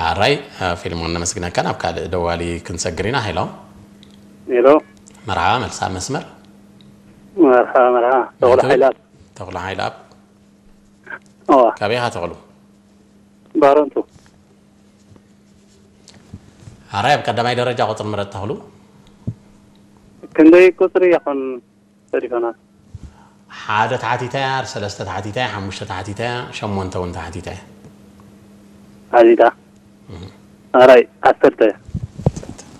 ኣራይ፣ ፊልሞን ነመስግነካ። ናብ ካልእ ደዋሊ ክንሰግር ኢና። ሄሎ። ሄሎ። መርሓባ፣ መልሳ መስመር። መርሓባ፣ መርሓባ። ተኽሉ ሓይላት። ተኽሉ ሓይላት። ኦ። ካበይ ኢኻ ተኽሉ? ባረንቱ። ኣራይ፣ ኣብ ቀዳማይ ደረጃ ቁፅሪ ምረጥ ተኽሉ። ክንደይ ቁፅሪ ይኹን ሰሪፈና? ሓደ ተሓቲታ እያ፣ ሰለስተ ተሓቲታ እያ፣ ሓሙሽተ ተሓቲታ እያ፣ ሸሞንተ እውን ተሓቲታ እያ። ሓቲታ። ኣራይ፣ ዓሰርተ።